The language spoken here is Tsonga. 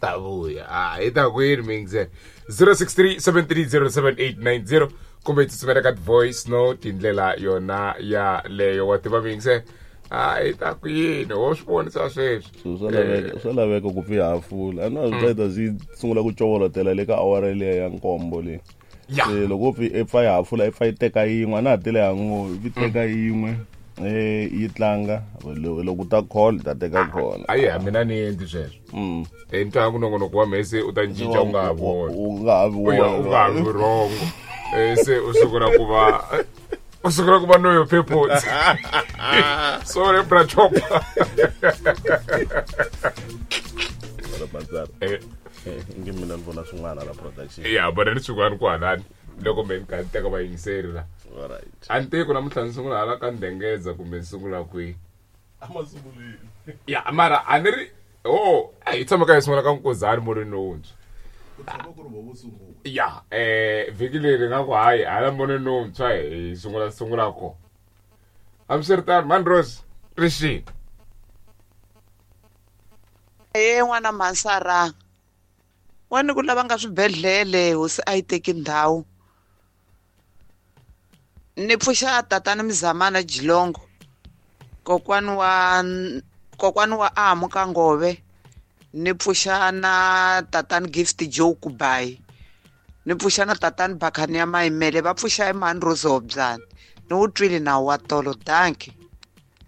Ta vuya. A hi ta kwini mingze 063 730 7890 kumbe hi tsutsumela ka voice note hi ndlela yona yaleyo. Wa tiva mingze, a hi ta kwini wo swi vonisa sweswi. So swa laveka ku pfi hafula, a na swi ta swi sungula ku covolotela le ka awara liya ya nkombo leyi. Se loko u pfi i pfa yi hafula, i pfa yi teka yin'we, a na ha tele ya ngo i pfi teka yin'we, yi tlanga. Loko u ta call, ta teka khona. Ayi, a mina ni endli sweswo. Ni twa ku nongonoko wa mhese u ta cinca, u nga ha voni. U nga ha vi. U nga ha vi wrongo. Se u sungula ku va noyo purpose. Sorry, bra Chopa. Nge mina ni vona swin'wana la production. Ya vona ni swin'wana kwalani loko me ni kha ni teka vayingiseri la. Alright. A ni tivi ku namuntlha ni sungula hala ka ndengeza kumbe ni sungula kwihi. Amasunguleni. Ya, mara a ni ri o a hi tshama ka hi sungula ka Nkozani molweni lowuntshwa. Ku tshama ku ri vo sungula. Ya, vhiki leri nga ku hayi hala molweni lowuntshwa hi sungula sungula ko. Hambiswiritano, Mandros rixini. Ye n'wana mhansara wani ku lava nga swibedhlele, hosi a yi teki ndhawu. Ni pfuxa tatani Mzamana Jilongo, kokwani wa Amu ka Ngove. Ni pfuxa na tatani Gift Joe Kubayi. Ni pfuxa na tatani Bakhani ya Mayimele. Va pfuxa hi mhani Rose Hobyani. Ni wu twile nawu wa tolo, danki.